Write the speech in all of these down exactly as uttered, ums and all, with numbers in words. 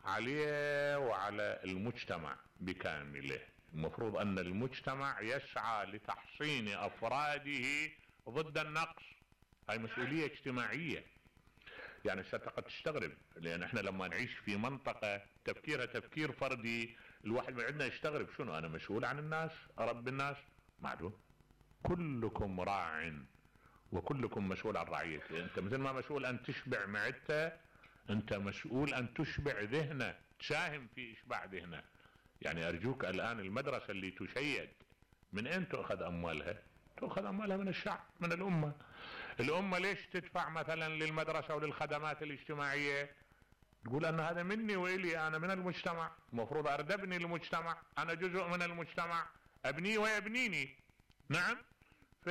عليه وعلى المجتمع بكامله. المفروض ان المجتمع يسعى لتحصين افراده ضد النقص. هاي مسؤولية اجتماعية. يعني قد تستغرب، لان احنا لما نعيش في منطقة تفكيرها تفكير فردي، الواحد من عندنا يستغرب، شنو انا مسؤول عن الناس، اربي الناس؟ معلوم كلكم راع وكلكم مسؤول عن رعيته. انت مثل ما مسؤول ان تشبع معدته، انت مسؤول ان تشبع ذهنه، تساهم في اشباع ذهنه. يعني ارجوك الان المدرسة اللي تشيد من اين تؤخذ اموالها؟ تؤخذ اموالها من الشعب، من الامة. الامة ليش تدفع مثلا للمدرسة وللخدمات الاجتماعية؟ تقول ان هذا مني والي، انا من المجتمع، المفروض اردبني المجتمع، انا جزء من المجتمع، ابني ويبنيني. نعم. ف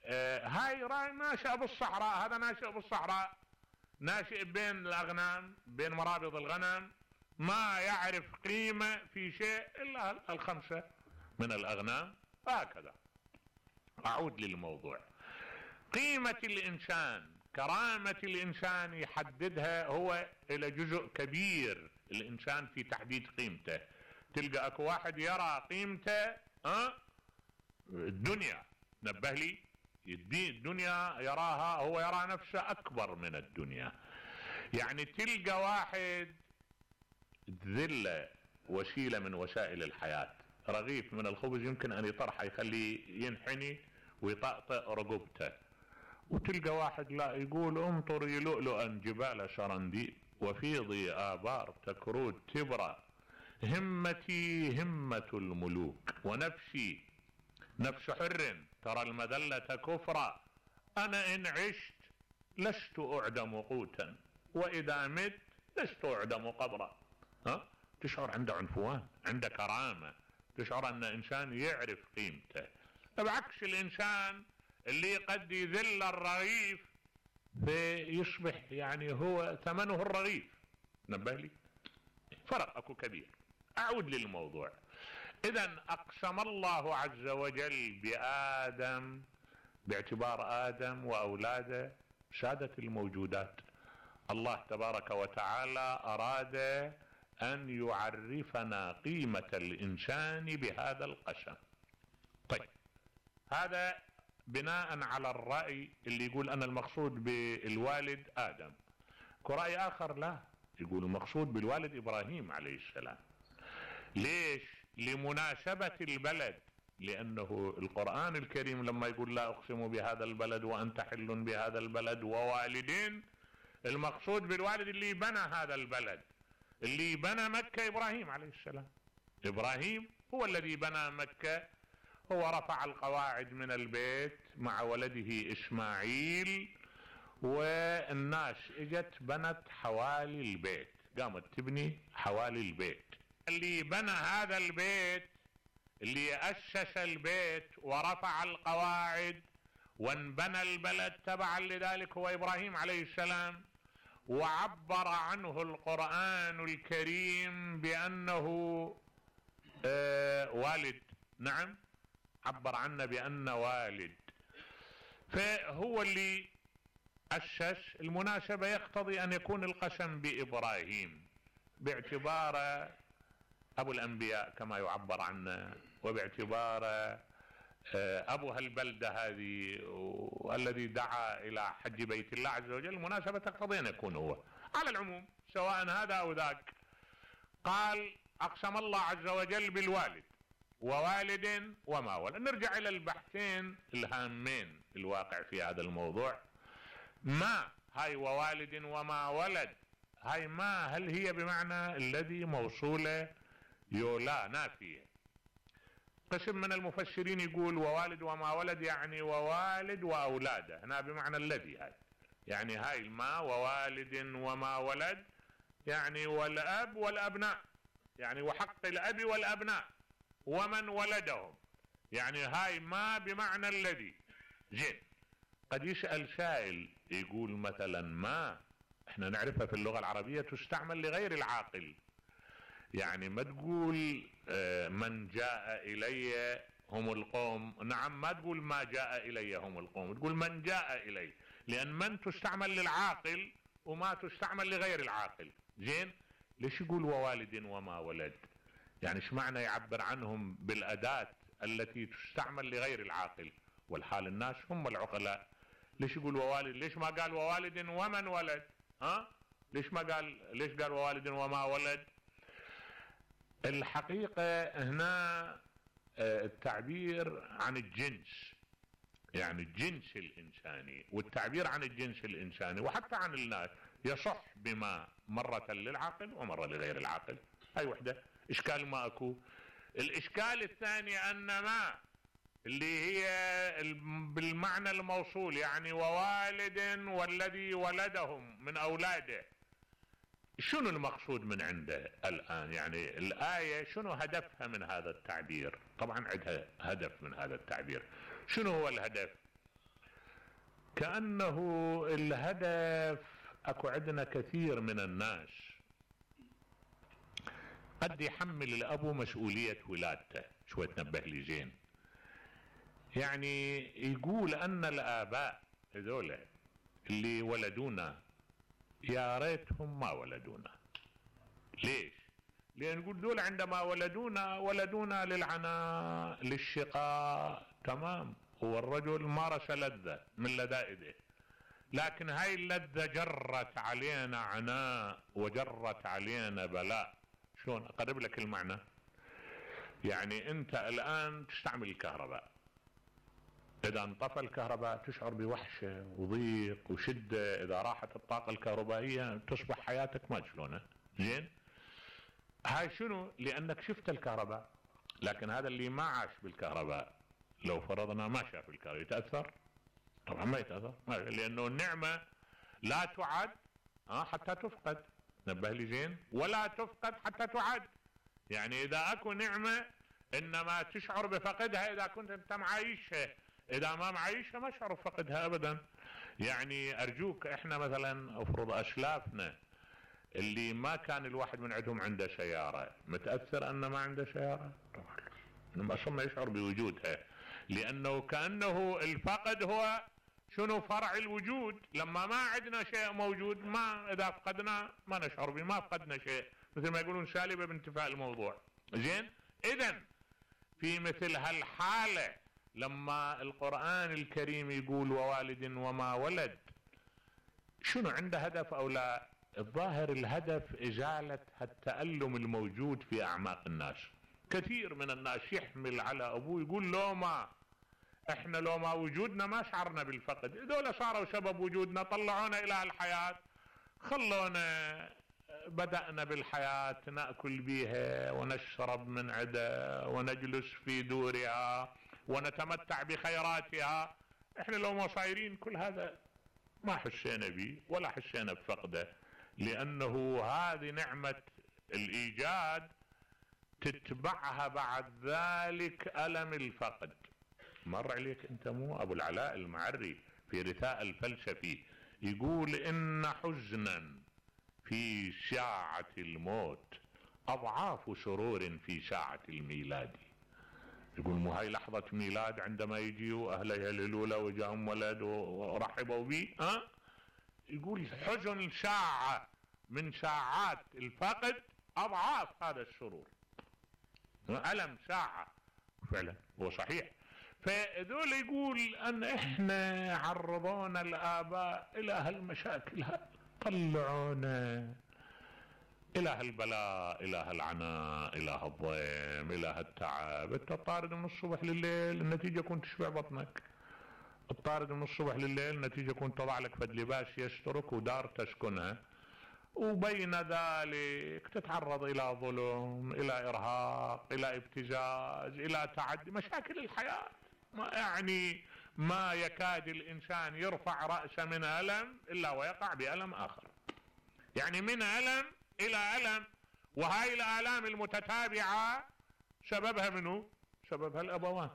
آه هاي راي ناشئ بالصحراء، هذا ناشئ بالصحراء، ناشئ بين الاغنام، بين مرابض الغنم، ما يعرف قيمة في شيء الا الخمسة من الاغنام. هكذا. اعود للموضوع. قيمة الانسان، كرامة الانسان يحددها هو الى جزء كبير الانسان في تحديد قيمته. تلقى اكو واحد يرى قيمته ها الدنيا، نبه لي، الدنيا يراها، هو يرى نفسه اكبر من الدنيا. يعني تلقى واحد ذلة وسيلة من وسائل الحياة، رغيف من الخبز يمكن ان يطرحه يخليه ينحني ويطأطئ رقبته، وتلقى واحد لا يقول امطري لؤلؤا جبال سرنديب وفيضي آبار تكرود تبرى، همتي همة الملوك ونفسي نفس حر ترى المذلة كفرا، انا ان عشت لست اعدم قوتا واذا مت لست اعدم قبرا. ها؟ تشعر عنده عنفوان، عنده كرامة، تشعر ان انسان يعرف قيمته. بعكس الانسان اللي قد يذل الرغيف فيصبح يعني هو ثمنه الرغيف. نبه لي، فرق اكو كبير. اعود للموضوع. اذا اقسم الله عز وجل بآدم باعتبار آدم واولاده سادة الموجودات. الله تبارك وتعالى اراد ان يعرفنا قيمة الانسان بهذا القسم. طيب، هذا بناء على الرأي اللي يقول ان المقصود بالوالد آدم. كرأي اخر لا، يقول المقصود بالوالد ابراهيم عليه السلام. ليش؟ لمناسبة البلد، لانه القرآن الكريم لما يقول لا اقسم بهذا البلد وانت حل بهذا البلد ووالدين، المقصود بالوالد اللي بنى هذا البلد، اللي بنى مكة ابراهيم عليه السلام. ابراهيم هو الذي بنى مكة، هو رفع القواعد من البيت مع ولده اسماعيل، والناس اجت بنت حوالي البيت، قامت تبني حوالي البيت. اللي بنى هذا البيت، اللي اسس البيت ورفع القواعد وانبنى البلد تبعا لذلك هو ابراهيم عليه السلام. وعبر عنه القرآن الكريم بانه آه والد. نعم، عبر عنه بأنه والد، فهو اللي أسس. المناسبة يقتضي أن يكون القسم بإبراهيم باعتبار أبو الأنبياء كما يعبر عنه، وباعتبار أبو هالبلدة هذه والذي دعا إلى حج بيت الله عز وجل. المناسبة تقتضي أن يكون هو. على العموم سواء هذا أو ذاك، قال أقسم الله عز وجل بالوالد ووالد وما ولد. نرجع الى البحثين الهامين الواقع في هذا الموضوع. ما هاي ووالد وما ولد، هاي ما هل هي بمعنى الذي موصولة يولا نافية؟ قسم من المفسرين يقول ووالد وما ولد يعني ووالد واولاده، هنا بمعنى الذي. هاي يعني هاي ما ووالد وما ولد يعني والاب والابناء، يعني وحق الاب والابناء ومن ولدهم، يعني هاي ما بمعنى الذي. زين، قد يسأل سائل يقول مثلا ما احنا نعرفها في اللغة العربية تستعمل لغير العاقل، يعني ما تقول اه من جاء الي هم القوم. نعم، ما تقول ما جاء الي هم القوم، تقول من جاء الي، لان من تستعمل للعاقل وما تستعمل لغير العاقل. زين، ليش يقول ووالد وما ولد؟ يعني ايش معنى يعبر عنهم بالأداة التي تستعمل لغير العاقل والحال الناس هم العقلاء؟ ليش يقول ووالد؟ ليش ما قال ووالد ومن ولد؟ ها؟ ليش ما قال ليش قال ووالد وما ولد؟ الحقيقة هنا التعبير عن الجنس، يعني الجنس الإنساني، والتعبير عن الجنس الإنساني وحتى عن الناس يصح بما مرة للعقل ومرة لغير العقل. هاي وحدة إشكال ما أكو. الإشكال الثاني أن ما اللي هي بالمعنى الموصول، يعني ووالد والذي ولدهم من أولاده، شنو المقصود من عنده الآن؟ يعني الآية شنو هدفها من هذا التعبير؟ طبعا عندها هدف من هذا التعبير. شنو هو الهدف؟ كأنه الهدف، أكو عندنا كثير من الناس قد يحمل الأب مسؤولية ولادته. شوي تنبه لي زين، يعني يقول أن الآباء هذول اللي ولدونا يا ريتهم ما ولدونا. ليش؟ لأن نقول دول عندما ولدونا ولدونا للعناء للشقاء، تمام، هو الرجل مارس لذة من لذائذه، لكن هاي اللذة جرت علينا عناء وجرت علينا بلاء. شلون أقرب لك المعنى؟ يعني أنت الآن تستعمل الكهرباء، إذا انطفى الكهرباء تشعر بوحشة وضيق وشدة. إذا راحت الطاقة الكهربائية تصبح حياتك ما شلونها. زين، هاي شنو؟ لأنك شفت الكهرباء. لكن هذا اللي ما عاش بالكهرباء لو فرضنا ما شاف الكهرباء يتأثر؟ طبعا ما يتأثر، لأنه النعمة لا تعد حتى تفقد. نبه لي زين، ولا تفقد حتى تعد. يعني إذا أكو نعمة إنما تشعر بفقدها إذا كنت أنت معايشها، إذا ما معايشها ما شعر بفقدها أبدا. يعني أرجوك، إحنا مثلا أفرض أسلافنا اللي ما كان الواحد من عندهم عنده سيارة، متأثر أنه ما عنده سيارة؟ طبعا أصلا ما يشعر بوجودها، لأنه كأنه الفقد هو شنو؟ فرع الوجود. لما ما عندنا شيء موجود، ما إذا فقدنا ما نشعر به، ما فقدنا شيء، مثل ما يقولون سالبة بانتفاء الموضوع. زين، إذن في مثل هالحالة لما القرآن الكريم يقول ووالد وما ولد، شنو عنده هدف أو لا؟ الظاهر الهدف إزالة التألم الموجود في أعماق الناس. كثير من الناس يحمل على أبوه يقول لو ما احنا لو ما وجودنا ما شعرنا بالفقد، هذول صاروا سبب وجودنا، طلعونا إلى الحياة، خلونا بدأنا بالحياة نأكل بها ونشرب من عدا ونجلس في دورها ونتمتع بخيراتها. احنا لو ما صايرين كل هذا ما حسينا به ولا حسينا بفقده، لأنه هذه نعمة الإيجاد تتبعها بعد ذلك ألم الفقد. مر عليك أنت مو أبو العلاء المعري في رثاء الفلسفي يقول إن حزنا في ساعة الموت أضعاف سرور في ساعة الميلاد. يقول مو هاي لحظة ميلاد عندما يجيوا أهلها الأولى وجاهم ولد ورحبوا به، ها؟ يقول حزن ساعة من ساعات الفقد أضعاف هذا السرور، ألم ساعة. فعلا هو صحيح. فذول يقول أن إحنا عرضونا الآباء إلى هالمشاكل، طلعونا إلى هالبلاء، إلى هالعناء، إلى هالضيم، إلى هالتعب. أنت طارد من الصبح لليل، النتيجة كنت تشبع بطنك. الطارد من الصبح لليل، النتيجة كنت تضع لك فد لباس يسترك ودار تسكنها، وبين ذلك تتعرض إلى ظلم، إلى إرهاق، إلى ابتزاز، إلى تعدي، مشاكل الحياة. ما يعني ما يكاد الإنسان يرفع رأسه من ألم إلا ويقع بألم آخر، يعني من ألم إلى ألم. وهاي الآلام المتتابعة سببها منه؟ سببها الأبوان.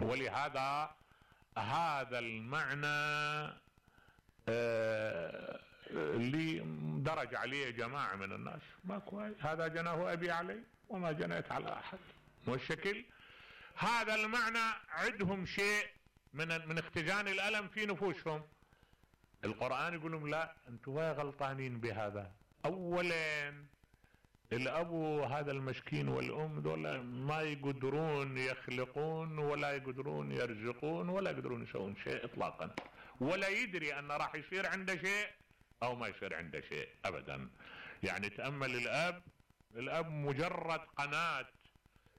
ولهذا هذا المعنى آه اللي درج عليه جماعة من الناس ما كويس، هذا جناه أبي علي وما جنيت على أحد. والشكل هذا المعنى عندهم شيء من من اختزان الألم في نفوسهم. القرآن يقول لهم لا انتوا غلطانين بهذا. اولا الاب هذا المسكين والام دول ما يقدرون يخلقون ولا يقدرون يرزقون ولا يقدرون يسوون شيء اطلاقا، ولا يدري ان راح يصير عنده شيء او ما يصير عنده شيء ابدا. يعني تأمل الاب، الاب مجرد قناة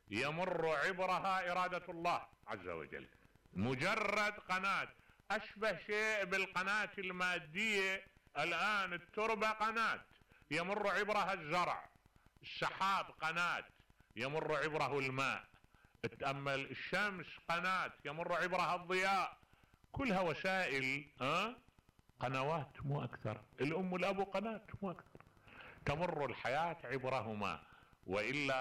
يمر عبرها ارادة الله عز وجل، مجرد قناة، اشبه شيء بالقناة المادية الان. التربة قناة يمر عبرها الزرع، السحاب قناة يمر عبره الماء، تأمل الشمس قناة يمر عبرها الضياء، كلها وسائل ها قنوات مو اكثر. الام والاب قناة مو اكثر، تمر الحياة عبرهما، وإلا